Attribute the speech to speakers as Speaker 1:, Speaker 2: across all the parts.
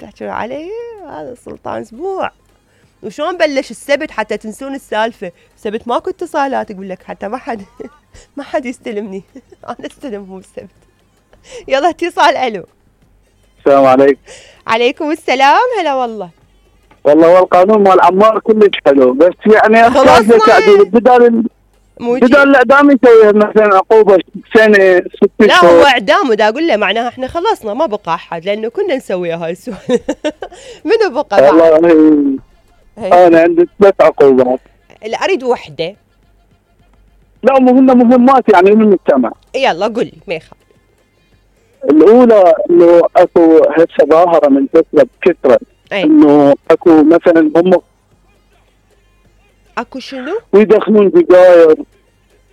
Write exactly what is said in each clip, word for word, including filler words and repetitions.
Speaker 1: تحكي علي هذا سلطان اسبوع. وشلون بلش السبت حتى تنسون السالفه؟ السبت ماكو اتصالات، يقول لك حتى ما حد ما حد يستلمني. انا استلمهم السبت. يلا اتصال. الو
Speaker 2: السلام عليكم.
Speaker 1: عليكم السلام. هلا والله.
Speaker 2: والله هو القانون مال عمار كلش حلو، بس يعني احتاج تعديل. بدال بدال الاعدام يسوي مثلا عقوبه سنه ست شهور.
Speaker 1: لا هو اعدام، ودا اقول له معناها احنا خلصنا ما بقى احد، لانه كنا نسوي هاي السؤال. منو بقى بعد؟
Speaker 2: والله انا عندي ثلاث عقوبات.
Speaker 1: لا اريد وحده.
Speaker 2: لا مهمه مهمات يعني من المجتمع.
Speaker 1: يلا قل لي ما يخالف.
Speaker 2: الاولى انه اكو هسه ظاهره من فتره بكثره انه اكو مثلا هم
Speaker 1: اكو شنو؟
Speaker 2: ويدخلون سجاير.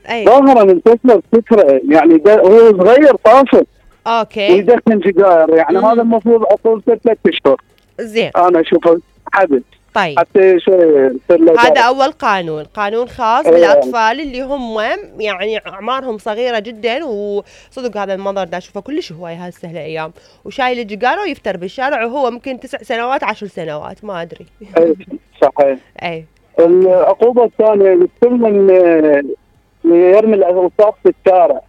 Speaker 2: ظاهره من فتره بكثره يعني هو صغير طافل.
Speaker 1: اوكي.
Speaker 2: ويدخن سجاير يعني مم. هذا المفروض عقوبته ثلاث اشهر.
Speaker 1: زين.
Speaker 2: انا اشوفه حدث.
Speaker 1: طيب.
Speaker 2: حتى شوي
Speaker 1: هذا اول قانون، قانون خاص أيه. بالاطفال اللي هم يعني اعمارهم صغيره جدا، وصدق هذا المنظر دا اشوفه كلش هواي هسه هالايام، وشايل الجيجاره ويفتر بالشارع وهو ممكن تسع سنوات عشر سنوات ما ادري.
Speaker 2: اي صحيح.
Speaker 1: اي.
Speaker 2: العقوبه الثانيه كل من يرمي الاوساخ في الشارع،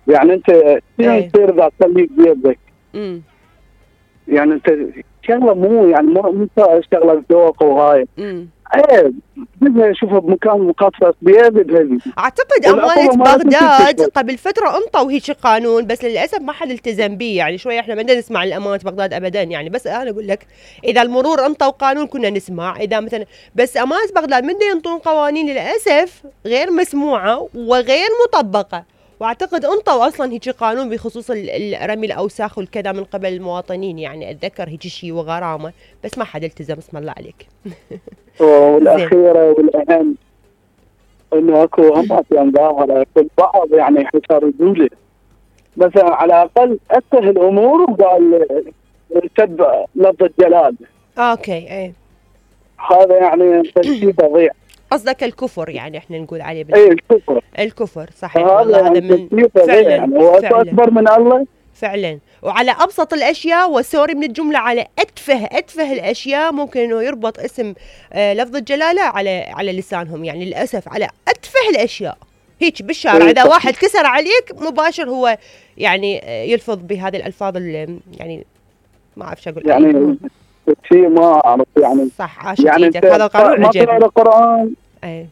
Speaker 2: يعني انت شنو يصير اذا تخليك بيدك؟ امم يعني انت شغله مو يعني مو شغله ذوق وهاي. امم ايه بدنا نشوفها بمكان مخصص بيد هذي.
Speaker 1: اعتقد امانه بغداد قبل فتره انطوا هيك قانون، بس للاسف ما حد التزم به، يعني شوي احنا ما بدنا نسمع الامانه بغداد ابدا يعني، بس انا اقول لك اذا المرور انطوا قانون كنا نسمع، اذا مثلا بس امانه بغداد من ينطون قوانين للاسف غير مسموعه وغير مطبقه، واعتقد انطوا اصلا هيك قانون بخصوص رمي الاوساخ والكذا من قبل المواطنين، يعني اتذكر هيك شيء وغرامه، بس ما حد التزم. اسم الله عليك.
Speaker 2: والاخيره والاهم انه اكو همات يعني ظاهره في البعض يعني يحتاجوا له مثلا على الاقل اسهل الامور وقال سب لفظ الجلال.
Speaker 1: اوكي. ايه
Speaker 2: هذا يعني شيء فظيع.
Speaker 1: قصدك الكفر يعني احنا نقول عليه
Speaker 2: بال... اي الكفر.
Speaker 1: الكفر صحيح. والله هذا من
Speaker 2: فعلا يعني هو اكبر من الله
Speaker 1: فعلا، وعلى ابسط الاشياء وسوري من الجمله، على اتفه اتفه الاشياء ممكن انه يربط اسم آه لفظ الجلاله على على لسانهم، يعني للاسف على اتفه الاشياء هيك بالشارع اذا واحد كسر عليك مباشر هو يعني يلفظ بهذه الالفاظ اللي يعني ما اعرف شو اقول
Speaker 2: يعني شيء ما اعرف يعني.
Speaker 1: صح عاشت يعني ايدك. هذا القانون
Speaker 2: عجبني. ما القران
Speaker 1: اي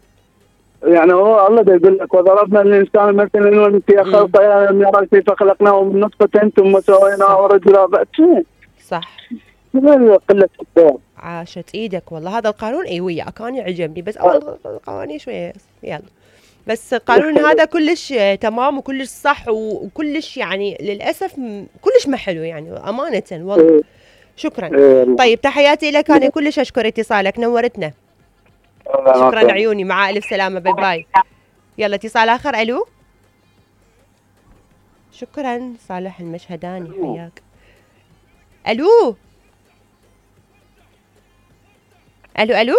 Speaker 2: يعني هو الله يقول لك وضربنا الانسان مثلا انه في خلقه لم يرى كيف خلقناه من نطفه ثم سويناه رجلا.
Speaker 1: صح.
Speaker 2: قله الدور.
Speaker 1: عاشت ايدك والله. هذا القانون اي وياك كان يعجبني، بس اول القوانين شويه يلا، بس القانون هذا كلش تمام وكلش صح وكلش يعني للاسف كلش ما حلو يعني امانه والله. شكرا. طيب تحياتي لك، انا كلش اشكر اتصالك، نورتنا. شكرا عيوني، مع الف سلامه. باي باي. يلا اتصال اخر. الو شكرا صالح المشهداني حياك. الو الو الو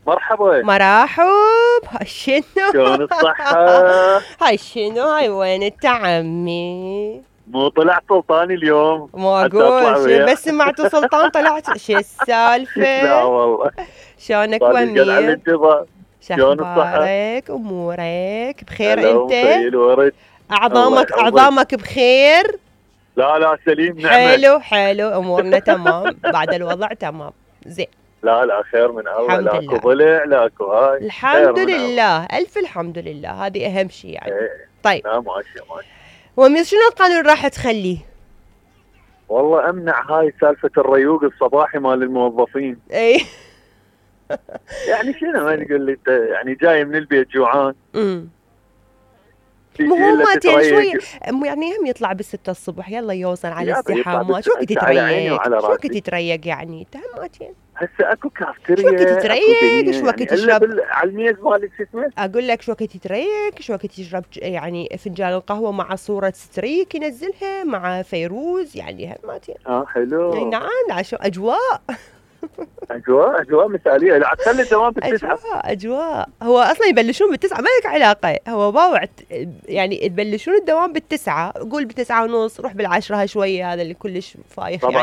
Speaker 3: مرحبا.
Speaker 1: مرحب. هاي شنو؟
Speaker 3: شلون الصحة؟
Speaker 1: هاي شنو؟ هاي وين انت عمي؟
Speaker 3: مو طلعت سلطاني اليوم؟
Speaker 1: مو اقول بس سمعتوا سلطان طلعت شو السالفة؟
Speaker 3: لا والله.
Speaker 1: شلونك ومير؟
Speaker 3: شلون
Speaker 1: اخبارك؟ امورك بخير انت؟ اعظامك اعظامك بخير؟
Speaker 3: لا لا سليم نعمة.
Speaker 1: حلو حلو امورنا تمام بعد الوضع تمام زين.
Speaker 3: لا لا خير من الله. لاكو ضلع لاكو هاي.
Speaker 1: الحمد لله الف الحمد لله، هذه اهم شيء يعني.
Speaker 3: ايه.
Speaker 1: طيب.
Speaker 3: لا ماشي ماشي.
Speaker 1: ومير شنو القانون راح تخليه؟
Speaker 3: والله امنع هاي سالفة الريوق الصباحي مال الموظفين.
Speaker 1: اي.
Speaker 3: يعني شنو ما تقول لي انت يعني جاي من البيت جوعان.
Speaker 1: امم مهمات يعني شوي يعني هم يطلع بالستة الصبح يلا يوصل على الازدحامات، شو وقت يتريق؟ شو وقت يتريق يعني تهماتين.
Speaker 3: هسه اكو كافتيريا.
Speaker 1: شو وقت يتريق؟ شو وقت
Speaker 3: يعني
Speaker 1: يشرب؟
Speaker 3: على الميز مال شو اسمه؟
Speaker 1: اقول لك شو وقت يتريق؟ شو وقت يشرب يعني فنجان القهوه مع صوره ستريك ينزلها مع فيروز يعني هماتين.
Speaker 3: اه حلو.
Speaker 1: اي نعم شو اجواء.
Speaker 3: اجواء اجواء مثاليه. لا تخلي الدوام بالتسعه.
Speaker 1: اجواء اجواء هو اصلا يبلشون بالتسعه ما لك علاقه، هو باوع يعني تبلشون الدوام بالتسعه، قول بالتسعه ونص روح بالعشره شويه، هذا اللي كلش فايخ يعني.